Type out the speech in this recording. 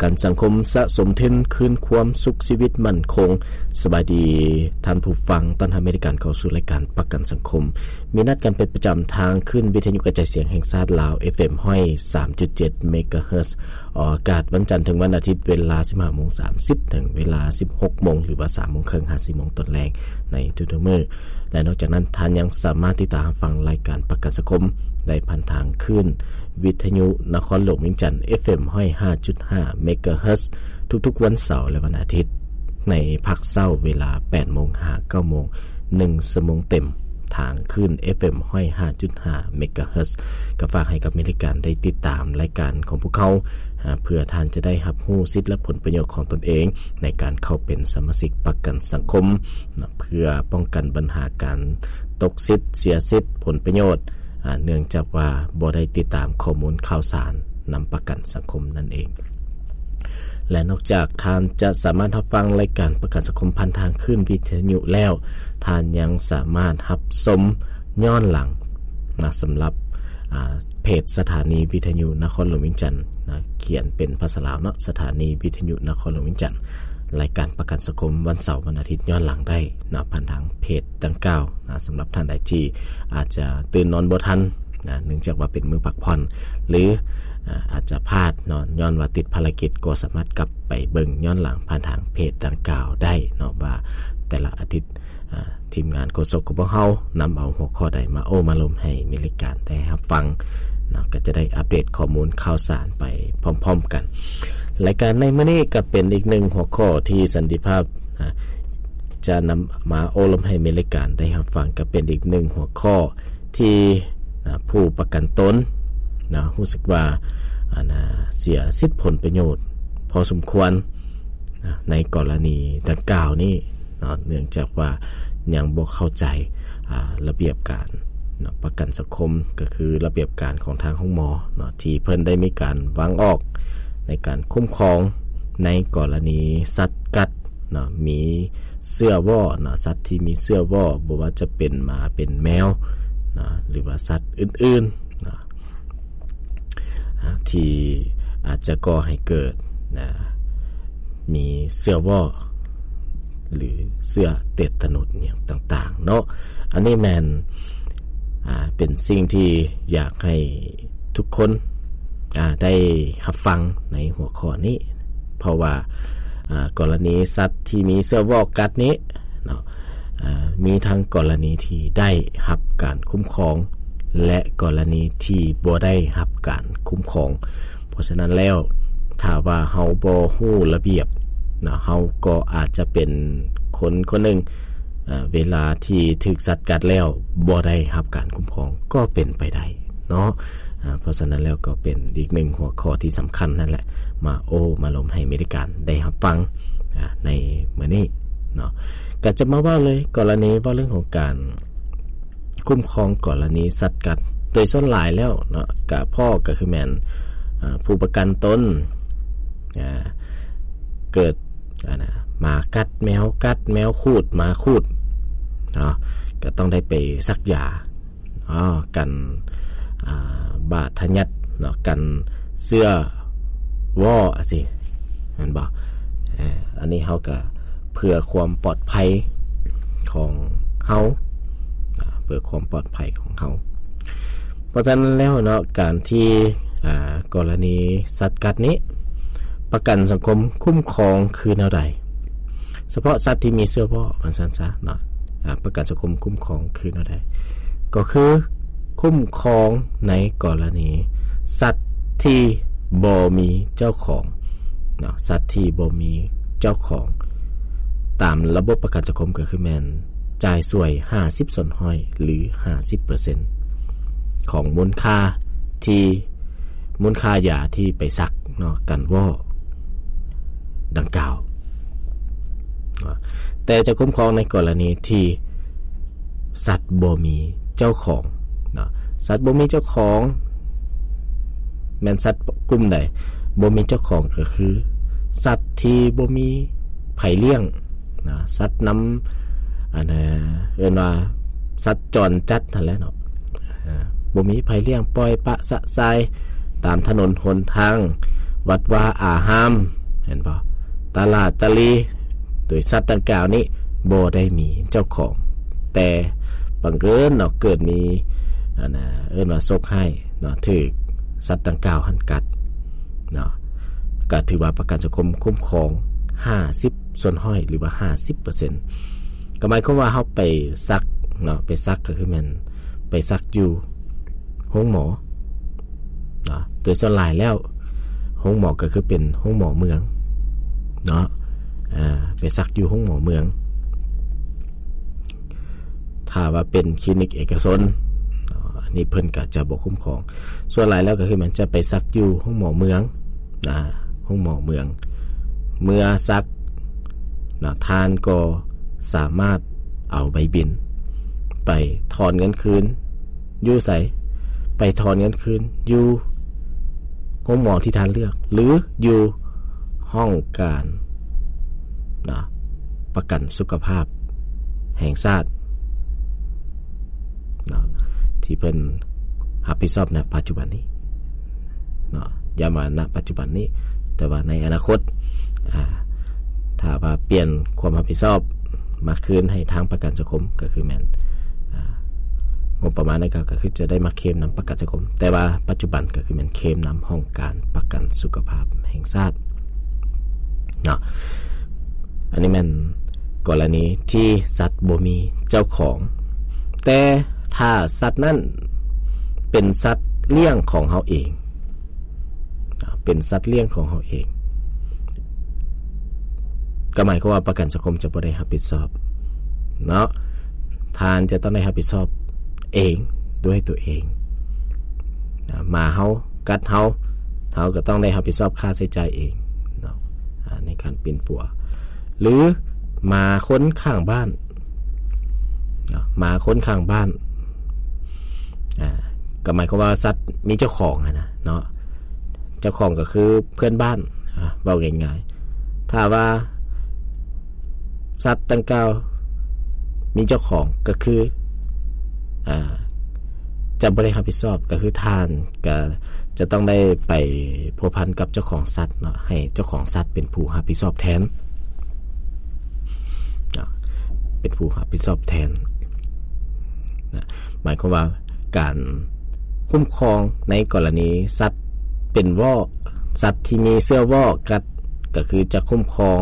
ກັນສັງຄົມ ສະສົມທຶນຄືນຄວາມສຸກຊີວິດໝັ້ນຄົງ. ສະບາຍດີທ່ານຜູ້ຟັງ, ຕ້ອນຮັບເມລິກັນເຂົ້າສູ່ລາຍການປະກັນສັງຄົມ. ມີນັດກັນເປັນປະຈຳທາງຄື້ນວິທະຍຸກະຈາຍສຽງແຫ່ງຊາດລາວ ເອັຟເອັມ ຮ້ອຍສາມຈຸດເຈັດ ເມກາເຮີດ ອອກອາກາດວັນຈັນເຖິງວັນອາທິດ ເວລາ ສິບຫ້າໂມງສາມສິບ ເຖິງເວລາ ສິບຫົກໂມງ ຫຼືວ່າ ສາມໂມງເຄິ່ງ ຫາ ສີ່ໂມງຕອນແລງ ໃນທຸກໆມື້. ແລະ ນອກຈາກນັ້ນ, ທ່ານຍັງສາມາດຕິດຕາມຮັບຟັງລາຍການປະກັນສັງຄົມໄດ້ຜ່ານທາງຄື້ນວິທະຍຸນະຄອນຫຼວງວຽງຈັນ ເອັຟເອັມ ຮ້ອຍຫ້າຈຸດຫ້າ ເມກາເຮີດ ທຸກໆວັນເສົາ ແລະ ວັນອາທິດ ໃນພາກເຊົ້າເວລາ ແປດໂມງ ຫາ ເກົ້າໂມງ ໜຶ່ງຊົ່ວໂມງເຕັມ ທາງຄື້ນ ເອັຟເອັມ ຮ້ອຍຫ້າຈຸດຫ້າ ເມກາເຮີດ. ກໍຝາກໃຫ້ກັບເມລິກັນໄດ້ຕິດຕາມລາຍການຂອງພວກເຮົາ ອາ ເພື່ອທ່ານຈະໄດ້ຮັບຮູ້ສິດ ແລະ ຜົນປະໂຫຍດຂອງຕົນເອງ ໃນການເຂົ້າເປັນສະມາຊິກປະກັນສັງຄົມນະ ເພື່ອປ້ອງກັນບັນຫາການຕົກສິດ, ເສຍສິດ, ຜົນປະໂຫຍດ ອາ ເນື່ອງຈາກວ່າບໍ່ໄດ້ຕິດຕາມຂໍ້ມູນຂ່າວສານນຳປະກັນສັງຄົມນັ້ນເອງ. ແລະ ນອກຈາກທ່ານຈະສາມາດຮັບຟັງລາຍການປະກັນສັງຄົມຜ່ານທາງຄື້ນວິທະຍຸແລ້ວ, ທ່ານຍັງສາມາດຮັບຊົມຍ້ອນຫຼັງນະ ສຳລັບ ອາ ເພຈສະຖານີວິທະຍຸນະຄອນຫຼວງວຽງຈັນນະ, ຂຽນເປັນພາສາລາວເນາະ, ສະຖານີວິທະຍຸນະຄອນຫຼວງວຽງຈັນ. ລາຍການປະກັນສັງຄົມວັນເສົາ, ວັນອາທິດຍ້ອນຫຼັງໄດ້ນະ ຜ່ານທາງເພຈດັ່ງກ່າວນະ. ສຳລັບທ່ານໃດທີ່ອາດຈະຕື່ນນອນບໍ່ທັນນະ ເນື່ອງຈາກວ່າເປັນມື້ພັກຜ່ອນ ຫຼື ອາ ອາດຈະພາດເນາະ ຍ້ອນວ່າຕິດພາລະກິດ, ກໍສາມາດກັບໄປເບິ່ງຍ້ອນຫຼັງຜ່ານທາງເພຈດັ່ງກ່າວໄດ້ເນາະ ວ່າແຕ່ລະອາທິດ ອາ ທີມງານໂຄສົກຂອງພວກເຮົານຳເອົາຫົວຂໍ້ໃດມາໂອ້ມາລົມໃຫ້ເມລິກັນໄດ້ຮັບຟັງເນາະ, ກໍຈະໄດ້ອັບເດດຂໍ້ມູນຂ່າວສານໄປພ້ອມໆກັນ. ລາຍການໃນມື້ນີ້ກໍເປັນອີກໜຶ່ງຫົວຂໍ້ທີ່ສັນຕິພາບ ອາ ຈະນຳມາໂອ້ລົມໃຫ້ເມລິກັນໄດ້ຮັບຟັງ, ກໍເປັນອີກໜຶ່ງຫົວຂໍ້ທີ່ ອາ ຜູ້ປະກັນຕົນນະ ຮູ້ສຶກວ່າ ອັນນະ ເສຍສິດຜົນປະໂຫຍດພໍສົມຄວນນະ ໃນກໍລະນີດັ່ງກ່າວນີ້ເນາະ, ເນື່ອງຈາກວ່າຍັງບໍ່ເຂົ້າໃຈ ອາ ລະບຽບການເນາະ ປະກັນສັງຄົມ, ກໍຄືລະບຽບການຂອງທາງໂຮງໝໍເນາະ ທີ່ເພິ່ນໄດ້ມີການວາງອອກໃນການຄຸ້ມຄອງໃນກໍລະນີສັດກັດເນາະ, ມີເຊື້ອວໍ້ເນາະ, ສັດທີ່ມີເຊື້ອວໍ້ ບໍ່ວ່າຈະເປັນໝາເປັນແມວເນາະ ຫຼືວ່າສັດອື່ນໆເນາະ ອາ ທີ່ອາດຈະກໍ່ໃຫ້ເກີດນະ ມີເຊື້ອວໍ້ ຫຼືເຊື້ອເຕດຕະໜົດຫຍັງຕ່າງໆເນາະ. ອັນນີ້ແມ່ນ ອາ ເປັນສິ່ງທີ່ຢາກໃຫ້ທຸກຄົນ ອາ ໄດ້ຮັບຟັງໃນຫົວຂໍ້ນີ້ ເພາະວ່າ ອາ ກໍລະນີສັດທີ່ມີເຊື້ອວໍ້ກັດນີ້ເນາະ ອາ ມີທັງກໍລະນີທີ່ໄດ້ຮັບການຄຸ້ມຄອງ ແລະ ກໍລະນີທີ່ບໍ່ໄດ້ຮັບການຄຸ້ມຄອງ. ເພາະສະນັ້ນແລ້ວ ຖ້າວ່າເຮົາບໍ່ຮູ້ລະບຽບເນາະ ເຮົາກໍອາດຈະເປັນຄົນຄົນໜຶ່ງ ອາ ເວລາທີ່ຖືກສັດກັດແລ້ວບໍ່ໄດ້ຮັບການຄຸ້ມຄອງກໍເປັນໄປໄດ້ເນາະ. ອາ ເພາະສະນັ້ນແລ້ວກໍເປັນອີກໜຶ່ງຫົວຂໍ້ທີ່ສຳຄັນນັ້ນແຫຼະ ມາໂອ້ມາລົມໃຫ້ເມລິກັນໄດ້ຮັບຟັງ ອາ ໃນມື້ນີ້ເນາະ. ກໍຈະມາເວົ້າເລີຍ ກໍລະນີເວົ້າເລື່ອງຂອງການ ຄຸ້ມຄອງກໍລະນີສັດກັດ ໂດຍສ່ວນຫຼາຍແລ້ວເນາະ ກະພໍກໍຄືແມ່ນ ອາ ຜູ້ປະກັນຕົນ ອາ ເກີດ ອັນນະ ໝາກັດ ແມວກັດ ແມວຂູດ ໝາຂູດເນາະ ກໍຕ້ອງໄດ້ໄປສັກຢາເນາະ ກັນ ອາ ບາດທະຍັດເນາະ ກັນເຊື້ອວໍ້ ອາ ຊີ້ ແມ່ນບໍ່? ເອີ ອັນນີ້ເຮົາກໍເພື່ອຄວາມປອດໄພຂອງເຮົາ ອາ ເພື່ອຄວາມປອດໄພຂອງເຮົາ. ເພາະສະນັ້ນແລ້ວເນາະ ການທີ່ ອາ ກໍລະນີສັດກັດນີ້ ປະກັນສັງຄົມຄຸ້ມຄອງຄືແນວໃດ? ສະເພາະສັດທີ່ມີເຊື້ອວໍ້ ວ່າຊັ້ນຊະເນາະ ອາ ປະກັນສັງຄົມຄຸ້ມຄອງຄືແນວໃດ? ກໍຄືຄຸ້ມຄອງໃນກໍລະນີສັດທີ່ບໍ່ມີເຈົ້າຂອງເນາະ, ສັດທີ່ບໍ່ມີເຈົ້າຂອງ ຕາມລະບົບປະກັນສັງຄົມກໍຄືແມ່ນຈ່າຍຊ່ວຍຫ້າສິບສ່ວນຮ້ອຍ ຫຼື ຫ້າສິບເປີເຊັນຂອງມູນຄ່າທີ່ ມູນຄ່າຢາທີ່ໄປສັກເນາະ ກັນວໍ້ດັ່ງກ່າວ. ແຕ່ຈະຄຸ້ມຄອງໃນກໍລະນີທີ່ສັດບໍ່ມີເຈົ້າຂອງເນາະ, ສັດບໍ່ມີເຈົ້າຂອງ ແມ່ນສັດກຸ່ມໃດບໍ່ມີເຈົ້າຂອງ? ກໍຄືສັດທີ່ບໍ່ມີໃຜລ້ຽງເນາະ, ສັດນຳ ອັນ ເອີ້ນວ່າສັດຈອນຈັດຫັ້ນແຫຼະເນາະ. ອາ ບໍ່ມີໃຜລ້ຽງ ປ່ອຍປະສະສາຍຕາມຖະໜົນຫົນທາງ, ວັດວາອາຮາມ ເຫັນບໍ່? ຕະຫຼາດຕະຫຼີໂດຍສັດດັ່ງກ່າວນີ້ບໍ່ໄດ້ມີເຈົ້າຂອງ ແຕ່ບັງເອີນເນາະ ເກີດມີ ອັນນ່າ ເອີ້ນວ່າໂຊກຮ້າຍເນາະ ຖືກສັດດັ່ງກ່າວຫັ້ນກັດເນາະ ກໍຖືວ່າປະກັນສັງຄົມຄຸ້ມຄອງຫ້າສິບສ່ວນຮ້ອຍ ຫຼືວ່າຫ້າສິບເປີເຊັນ ກໍໝາຍຄວາມວ່າເຮົາໄປສັກເນາະ ໄປສັກກໍຄືແມ່ນໄປສັກຢູ່ໂຮງໝໍເນາະ ໂດຍສ່ວນຫຼາຍແລ້ວໂຮງໝໍກໍຄືເປັນໂຮງໝໍເມືອງເນາະ ອາ ໄປສັກຢູ່ໂຮງໝໍເມືອງ ຖ້າວ່າເປັນຄລີນິກເອກະຊົນເນາະ ອັນນີ້ເພິ່ນກໍຈະບໍ່ຄຸ້ມຄອງ ສ່ວນຫຼາຍແລ້ວກໍຄືມັນຈະໄປສັກຢູ່ໂຮງໝໍເມືອງ ອາ ໂຮງໝໍເມືອງ ເມື່ອສັກນະ ທ່ານກໍສາມາດເອົາໃບບິນໄປຖອນເງິນຄືນຢູ່ໃສ? ໄປຖອນເງິນຄືນຢູ່ໂຮງໝໍທີ່ທ່ານເລືອກ ຫຼື ຢູ່ຫ້ອງການນະ ປະກັນສຸຂະພາບແຫ່ງຊາດ ເນາະ ທີ່ເພິ່ນຮັບຜິດຊອບໃນປັດຈຸບັນນີ້ເນາະ ຢ່າວ່ານະປັດຈຸບັນນີ້ ແຕ່ວ່າໃນອະນາຄົດ ອາ ຖ້າວ່າປ່ຽນຄວາມຮັບຜິດຊອບມາຄືນໃຫ້ທາງປະກັນສັງຄົມ ກໍຄືແມ່ນ ອາ ງົບປະມານດັ່ງກ່າວກໍຄືຈະໄດ້ມາເຄມນຳປະກັນສັງຄົມ ແຕ່ວ່າປັດຈຸບັນກໍຄືແມ່ນເຄມນຳຫ້ອງການປະກັນສຸຂະພາບແຫ່ງຊາດເນາະ. ອັນນີ້ແມ່ນກໍລະນີທີ່ສັດບໍ່ມີເຈົ້າຂອງ ແຕ່ຖ້າສັດນັ້ນເປັນສັດລ້ຽງຂອງເຮົາເອງ ເປັນສັດລ້ຽງຂອງເຮົາເອງ ກໍໝາຍຄວາມວ່າປະກັນສັງຄົມຈະບໍ່ໄດ້ຮັບຜິດຊອບເນາະ ທ່ານຈະຕ້ອງໄດ້ຮັບຜິດຊອບເອງ ດ້ວຍຕົວເອງ ໝາເຮົາກັດເຮົາ ເຮົາກໍຕ້ອງໄດ້ຮັບຜິດຊອບຄ່າໃຊ້ຈ່າຍເອງເນາະ ອາ ໃນການປິ່ນປົວ ຫຼື ໝາຄົນຂ້າງບ້ານເນາະ ໝາຄົນຂ້າງບ້ານ ອາ ກໍໝາຍຄວາມວ່າສັດມີເຈົ້າຂອງຫັ້ນນະເນາະ ເຈົ້າຂອງກໍຄືເພື່ອນບ້ານ ອາ ເວົ້າງ່າຍໆ ຖ້າວ່າສັດດັ່ງກ່າວມີເຈົ້າຂອງ ກໍຄື ອາ ຈະບໍ່ໄດ້ຮັບຜິດຊອບ ກໍຄືທ່ານກໍຈະຕ້ອງໄດ້ໄປພົວພັນກັບເຈົ້າຂອງສັດເນາະ ໃຫ້ເຈົ້າຂອງສັດເປັນຜູ້ຮັບຜິດຊອບແທນເນາະ ເປັນຜູ້ຮັບຜິດຊອບແທນນະ ໝາຍຄວາມວ່າການຄຸ້ມຄອງໃນກໍລະນີສັດເປັນວໍ້ ສັດທີ່ມີເຊື້ອວໍ້ກັດ ກໍຄືຈະຄຸ້ມຄອງ